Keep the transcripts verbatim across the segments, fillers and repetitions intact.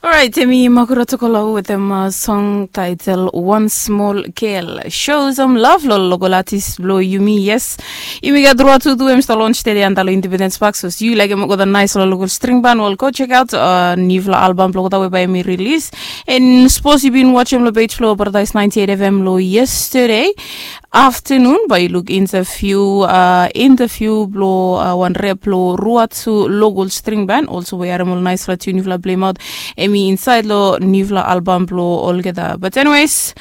Orait, emi Makura Tokolo wetem song title One Small Girl. Show some love lo local artist blo yumi. Yes, yumi gat Rua Tutu, em stap launch tede antap lo Independence Park. So yu laik em olgeta nice lo local string band, well, go check out uh, nifla album blo olgeta we bae emi release. And suppose yu bin watch em lo page blo Paradise ninety-eight F M lo yesterday afternoon, bae yu luk interview uh, interview blo uh, wan rep blo Rua Tutu local string band. Also we harem ol nice la tune yufala play out. Emi inside lo nifla album blo olgeta. But anyways,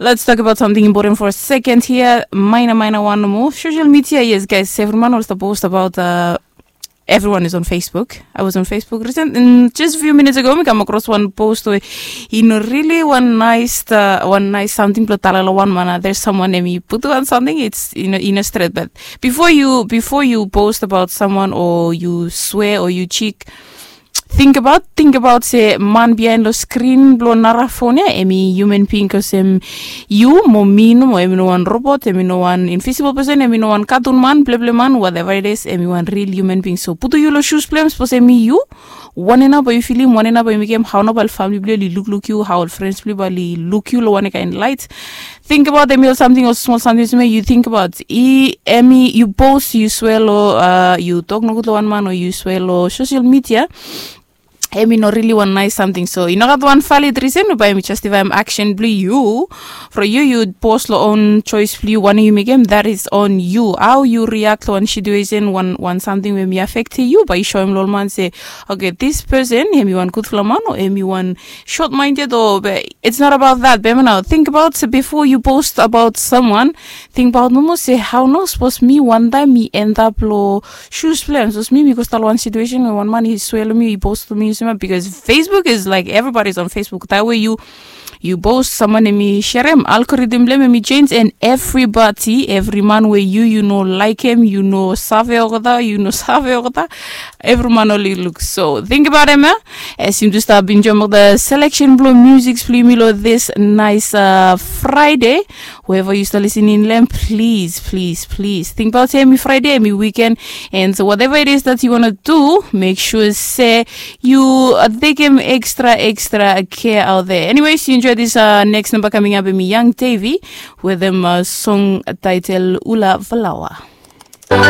let's talk about something important for a second here. Minor, minor one more. Social media, yes, guys. Every man also post about uh, everyone is on Facebook. I was on Facebook recent, and just a few minutes ago, mi come across one post where you know really one nice, uh, one nice something blo tala lo one man. Uh, there's someone emi putu on something. It's you know in a straight, but before you before you post about someone or you swear or you cheek, think about think about se man behind lo screen blo nara phone ya emi human being, cause em you mo mi no mo emi no one robot, emi no one invisible person, emi no one cartoon man, bleble man, whatever it is, emi one real human being. So putu yu lo shoes blo em, suppose emi you, wane nao bae yu filim, wane nao bae yu mekem, hao nao bae ol family blo yu oli lukluk yu, hao ol friends blo yu bae oli luk yu lo wane kaen light. Think about emi ol something, ol small something, yu think about i emi yu post, yu swear lo uh, yu tok nogud lo one man o yu swear lo social media. Emi no really one nice something, so i no gat one valid reason bae emi justify em action blo yu. From yu yu post lo own choice blo yu, wane yu mekem, that is on you. How you react lo one situation, one one something we emi affect yu, bae yu show em lo ol man se, okay, this person emi one gudfala man o emi one short minded o, but it's not about that. Be emi nao think about se before you post about someone, think about nomo se hao nao suppose mi one time mi end up lo shoes blo em. Suppose mi mi go stap lo one situation we one man i swear lo mi, i post lo mi, yu sema, because Facebook is like everybody's on Facebook. That way you you post someone emi sharem, algorithm blo em emi change, and everybody, every man we you you no like em, you no save olgeta, you no save olgeta, every man oli look. So think about em, eh? As yumi tu stap enjoy mo the selection blo music blo yumi lo this nice uh, Friday. Whoever you start listening lo em, please, please, please think about emi Friday, emi weekend, and so whatever it is that you wanna do, make sure se yu uh, tekem extra extra care out there. Anyways, you enjoy this uh, next number coming up, emi Young Davy wetem uh, song title Ula Valawa.